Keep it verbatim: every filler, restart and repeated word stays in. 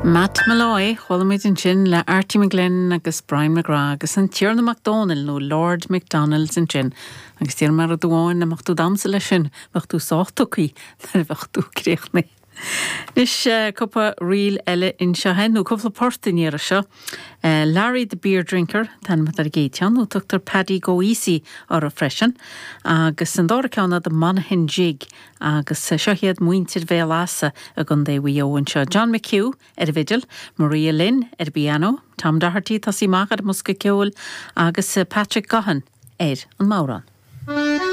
Matt Molloy chuala muid ansin le Artie McGlynn agus Brian McGrath agus an Tiarna Mac Dónaill nó Lord McDonald's ansin. Agus deir mar dúáin na tú damsa leis sin bheadh tú sách tugtha nuair a bheadh tú críochnaithe. Anois cúpla ríl eile anseo nó cúpla port in iar seo. Uh, Larry the Beer Drinker tá ar gétean nó tugtar Paddy Go Easy orthu freisin, agus an dara ceann the Monaghan Jig agus seo iad muintir Bhéal Easa i gContae Mhaigh Eo anseo. John McHugh ar an bhfidil, Maria Lynn ar piano, Tom Doherty tosaí amach ar an mbosca ceoil agus Patrick Gahan ar an mbodhrán.